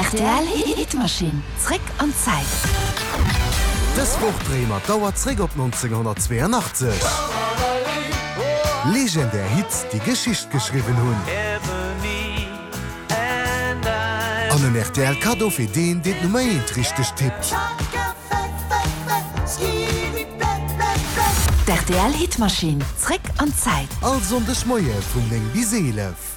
Rtl Hitmaschinn, zréck an d'Zäit. Dës Woch dréie mer d'Auer zréck op 1982. Legendär Hits, déi Geschicht geschriwwen hunn. An en rtl Kaddo fir deen, deen d'Nummer eent richteg tippt. D'RTL Hitmaschinn, zréck an d'Zäit. All Sonndeg Moie vun 9 bis 11.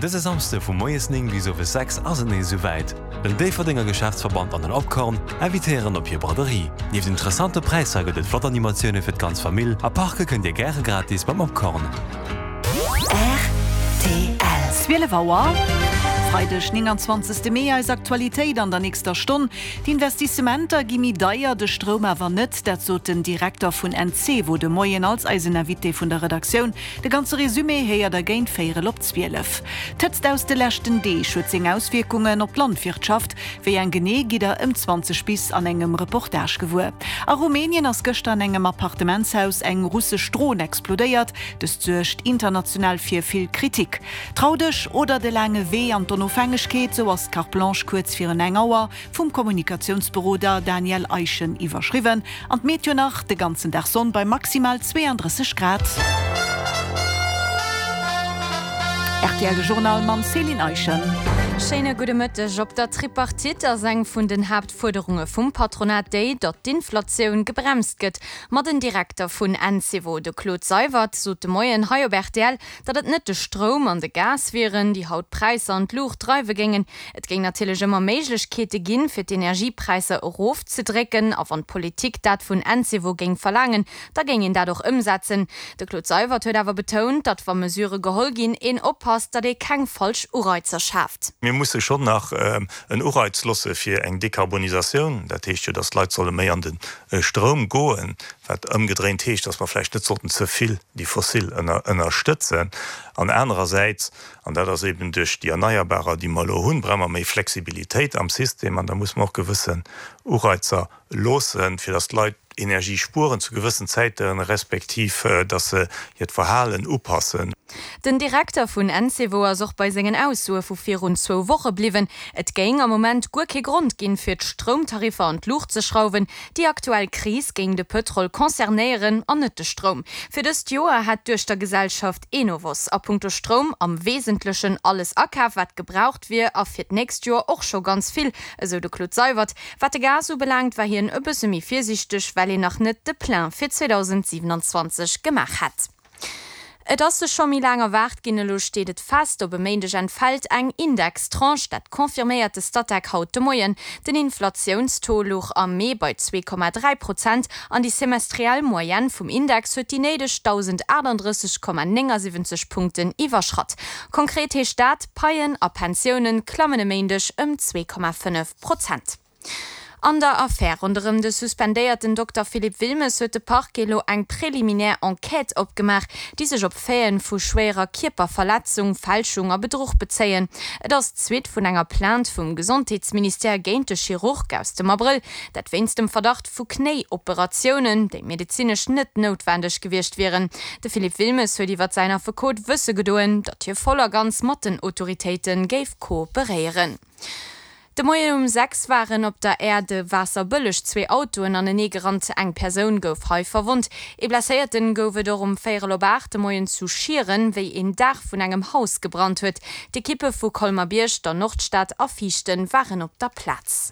Dëse Samsde vu moies 9 bis owes 6 ass et nees esou wäit. Den Déifferdenger Geschäftsverband an den Opkorn invitéieren op hir Braderie. Nieft interessante Präisser gëtt et flott Animatioune fir d'ganz Famill a parke kënnt dir gäre gratis beim Opkorn. Rtl. 12 Auer, Freideg 29 Mee, Eis Aktualitéit an der nächster Stonn, D'Investissementer gi méi deier, de Stroum awer net. Dat sot den Direkter vun Encevo de Moien als eisen Invité vun der Redaktioun. De ganze Resumé héiert der géint véierel op 12. D'Hëtzt aus de leschten Deeg huet seng Auswierkungen op d'Landwirtschaft. Wéi eng genee, gitt der ëm 20 bis an engem Reportage gewuer. A Rumänien ass gëschter an engem Appartementshaus eng russesch Dron explodéiert. Dëst suergt international fir vill Kritik. Trau dech oder de laange Wee an d'Onofhängegkeet, sou ass d'Carte Blanche kuerz virun eng Auer vum Kommunikatiounsberoder Daniel Eischen iwwerschriwwen. An d'Meteo nach, de ganzen Dag Sonn bei maximal 32 Grad. Rtl de Journal mam Céline Eischen. Schéine gudde Mëtteg. Op der Tripartite ass eng vun den Haaptfuerderunge vum Patronat déi, datt d'Inflatioun gebremst gëtt. Ma den Direkter vun Encevo, de Claude Seywert, sot de Moien hei op rtl, datt et net de Stroum an de Gas wieren, déi haut d'Präisser an d'Luucht dreiwe géingen. Et géing natierlech ëmmer Méiglechkeete ginn, fir d'Energiepräisser erofzedrécken. A wann d'Politik dat vun Encevo géing verlaangen, da géing een dat och ëmsetzen. De Claude Seywert huet awer betount, datt wa Mesurë geholl ginn, een oppasst, datt ee keng falsch Ureizer schaaft. Mir musse schonn nach en Ureiz losse fir eng Dekarbonisatioun. Dat heescht jo, datt d'Leit solle méi an de Stroum goen, wat ëmgedréint heescht, datt mer vläicht net sollten ze vill déi fossil ënnerstëtzen. An anerersäits An dat ass eben duerch déi Erneierbarer, déi mer elo hunn, brauche mer méi Flexibilitéit am System an da muss mer och gewëssen Ureizer loossen, fir datt d'Leit Energie spueren zu gewëssen Zäiten, respektiv datt se hiert Verhalen upassen. Den Direkter vun Encevo ass och bei sengen Aussoe vu virun zwou Woche bliwwen. Et géing am Moment guer kee Grond ginn, fir d'Stroumtariffer an d'Luucht ze schrauwen. Déi aktuell Kris géing de Pëtrol concernéieren an net de Stroum. Fir dëst Joer hätt d'Duechtergesellschaft Enovos a punkto Stroum am Wesentlechen alles akaf, wat gebraucht wier a fir d'nächst Joer och scho ganz vill, esou de Claude Seywert. Wat de Gas ubelaangt, war hien e bësse méi virsiichteg, well een nach net de Plein fir 2027 gemaach hätt. Et ass sech scho méi laang erwaart ginn, elo steet et fest, Op e Méindeg entfält eng Indextranche. Dat confirméiert de Statec haut de Moien. Den Inflatiounstaux louch am Mee bei 2,3 Prozent an déi semestriell Moyenne vum Index huet déi néideg 1.038,79 Punkten iwwerschratt. Konkret heescht dat, Paien a Pensioune klammen e Méindeg ëm 2,5 Prozent. An der Affär ronderëm de suspendéierten Dokter Philippe Wilmes huet de Parquet elo eng préliminaire Enquête opgemaach, déi sech op Faiten vu schwéierer Kierperverletzung, Fälschung a Bedruch bezéien. Et ass d'Suite vun enger Plainte vum Gesondheetsministère géint de Chirurg aus dem Abrëll, dat wéinst dem Verdacht vu Knéi-Operatiounen, déi medezinesch net noutwendeg gewiescht wieren. De Philippe Wilmes huet iwwer säin Affekot wësse gedoen, datt hie voll a ganz mat den Autoritéite géif kooperéieren. De Moien um 6 waren op der Aire de Waasserbëlleg zwee Autoen anenee gerannt. Eng Persoun gouf hei verwonnt. Ee Blesséierten gouf et och um véierel op 8 de Moien zu Schieren, wéi een Daach vun engem Haus gebrannt huet. D'Ekippe vu Colmer-Bierg, der Nordstad a Viichten waren op der Plaz.